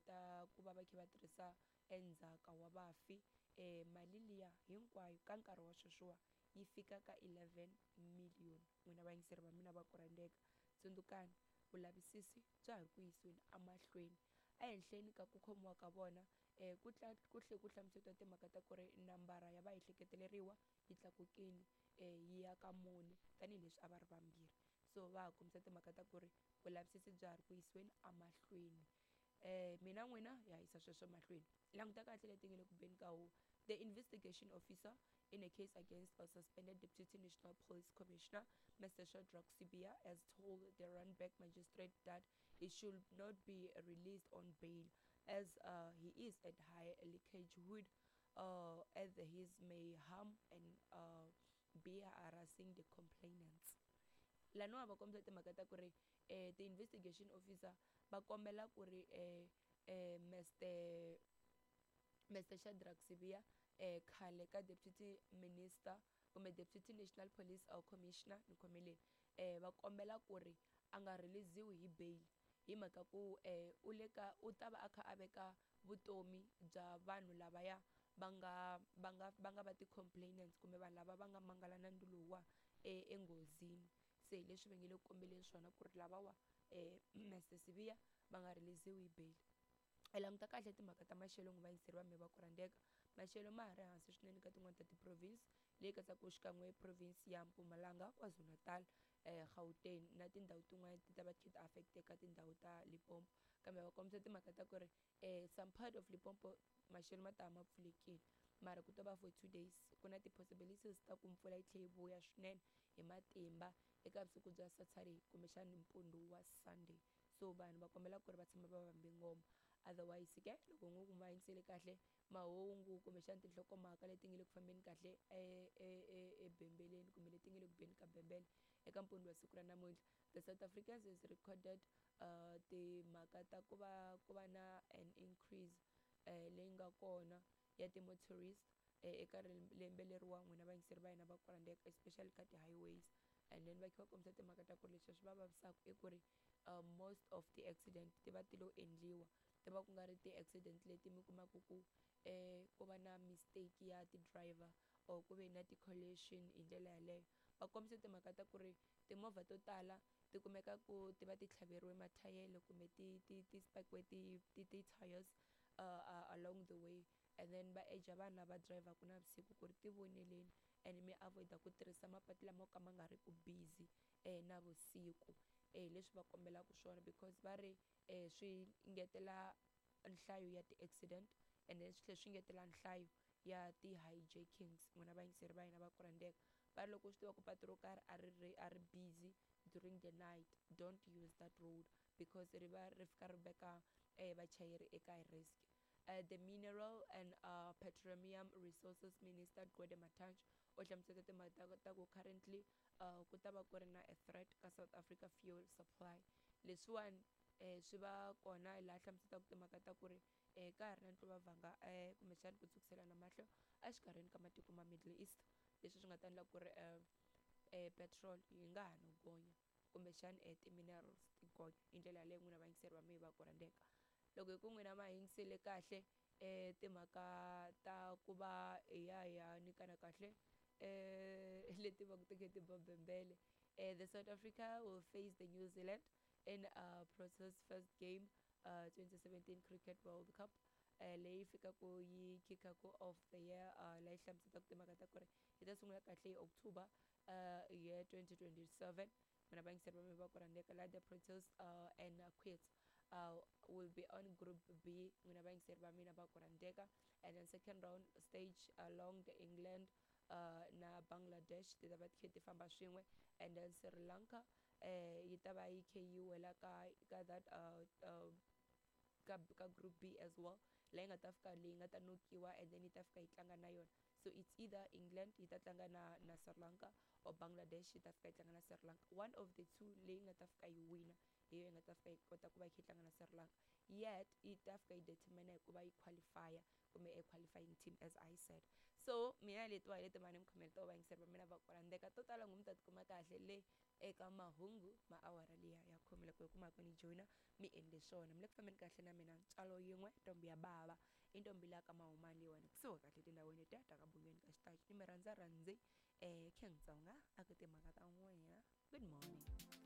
Ta ku va va kha va tirhisa endzhaka wa vafi mali liya hinkwayo ka nkarhi wa sweswiwa yi fika ka 11 million. N'wina vayingiseri va mina va ku rhandzeka, tsundzukani vulavisisi bya ha ri ku yisiweni emahlweni ehenhleni ka ku khomiwa ka vona. Ku ku tlhe ku hlamusetiwa timhaka ta ku ri nambara ya vaehleketeleriwa yi tlakukile yi ya ka mune tanihileswi a va ri vambirhi. So va ha kombisa timhaka ta ku ri vulavisisi bya ha ri ku yisiweni emahlweni. Mina n'wina ya yisa sweswo mahlweni. Languta kahle leti nga le ku beni ka huwa. The investigation officer in a case against a suspended Deputy National Police Commissioner, Mr. Shadrack Sibiya, has told the Randburg magistrate that he should not be released on bail as he is at high likelihood as he may harm and be harassing the complainants. Laniwa va kombisa timhaka ta ku ri ti-investigation officer va kombela ku ri Mr Shadrack Sibiya, khale ka deputy minister kumbe deputy national police commissioner, ni khomeleni, va kombela ku ri a nga release-iwi hi bail hi mhaka ku u le ka u ta va a kha a veka vutomi bya vanhu lavaya va nga va ti-complainants kumbe vanhu lava va nga mangala nandzu lowuwa enghozini. Se hi leswi va nge le ku kombeleni swona ku ri lavawa Mr Sibiya va nga release-iwi hi bail. Hi languta kahle timhaka ta maxelo, n'wi vayingiseri va me va ku rhandzeka. Maxelo ma ha ri hansi swinene ka tin'wani ta ti-province leyi katsaka xikan'we province ya Mpumalanga, KwaZulu-Natal, Gauteng na tindhawu tin'wana ti ta va ti affect-eka tindhawu ta Limpopo. Kambe va kombisa timhaka ta ku ri some part of Limpopo maxelo ma ta va ma pfulekile, mara ku to va for 2 days. Ku na ti-possibilities ta ku mpfula yi tlhe yi vuya swinene hi matimba eka vusiku bya Saturday kumbexani mpundzu wa Sunday. So vanhu va kombela ku ri va tshama va vambe ngoma. Otherwise ke, loko ngo ku ma yingisele kahle mahungu kumbexana tinhlokomhaka leti nga le ku fambeni kahle ebembeleni kumbe leti nga le ku beni ka bembele eka mpundzu wa siku ra namuntlha, the South Africans has recorded timhaka ta ku va na an increase leyi nga kona ya ti-motorist eka lembe leriwa, n'wina vayingiseri va hina va ku, especially ka ti-highways. And then va kha va kombisa timhaka ta ku ri leswi swi va vavisaka i ku ri most of ti-accident ti va ti lo endliwa, ti va ku nga ri ti-accident leti mi kumaka ku ku va na mistake ya ti-driver or ku ve na ti-collision hi ndlela yaleyo. Va kombisa timhaka ta ku ri timovha to tala ti kumeka ku ti va ti tlhaveriwe mathayele kumbe ti spakiwe ti-tires along the way. And then va eja vanhu lava drivhaku navusiku ku ri ti voneleni and mi avoid-a ku tirhisa mapatu lama ka ma nga ri ku busy navusiku. Leswi va kombelaka swona because va ri swi ngetela nhlayo ya ti-accident and then swi tlhela swi ngetela nhlayo ya ti-hijackings. N'wina vayingiseri va hina va ku rhandzeka, va ri loko u swi tiva ku patu ro karhi a ri busy during the night, don't use that road because ri va ri fika ri veka vachayeri eka risk. The Mineral and Petroleum Resources Minister Gwede Mantashe u hlamusela timhaka ta ku currently ku ta va ku ri na a threat ka South Africa fuel supply. Leswiwani swi va kona laha hlamuselaka timhaka ta ku ri ka ha ri na ntlumbavanga kumbexana ku tsukiselana mahlo exikarhini ka matiko ma Middle East, leswi swi nga ta endla ku ri petrol yi nga ha no gonya kumbexana ti-minerals ti gonya hi ndlela yaleyo. N'wina vayingiseri va mina va ku rhandzeka, loko hi ku n'wina ma yingisele kahle timhaka ta ku va hi ya hi ya nyikana kahle leti va ku ti kha ti ba bembele, the South Africa will face the New Zealand in Proteas first game 2017 Cricket World Cup leyi fikaku yi kickaku off the year, leyi hlamuselaka timhaka ta ku ri yi ta sungula kahle hi October year 2027. Mina vayingiseri va mina va ku rhandzeka, la the Proteas and Queens will be on Group B, n'wina vayingiseri va mina va ku rhandzeka, and then second round stage along the England na Bangladesh ti ta va ti kha ti famba swin'we, and then Sri Lanka yi ta va yi kha yi wela ka that ka Group B as well, leyi nga ta fika leyi nga ta nokiwa and then yi ta fika yi tlanga na yona. So it's either England yi ta tlanga na Sri Lanka or Bangladesh yi ta fika yi tlanga na Sri Lanka. One of the two leyi nga ta fika yi wina hi yo yi nga ta fika yi kota ku va yi kha yi tlanga na Sri Lanka. Yet yi ta fika yi determine hi ku va yi qualifya kumbe a qualifying team. As I said, So mina letiwa hi leti mani mi khomele to vayingiseri va mina va ku rhandzeka to tala ngo mi ta tikuma kahle le eka mahungu ma awara liya ya khume loko hi kumaka ni joyina mi endle swona. Mi le ku fambeni kahle na mina ntswalo yin'we ntombi ya bava i ntombi liya ka mahumani leyiwani kusuhi kahle tindhawini letiya ta ka bungeni ka xitachi ni mi rhandza rhandzi King Tsonga a ku timhaka ta n'wina. Good morning.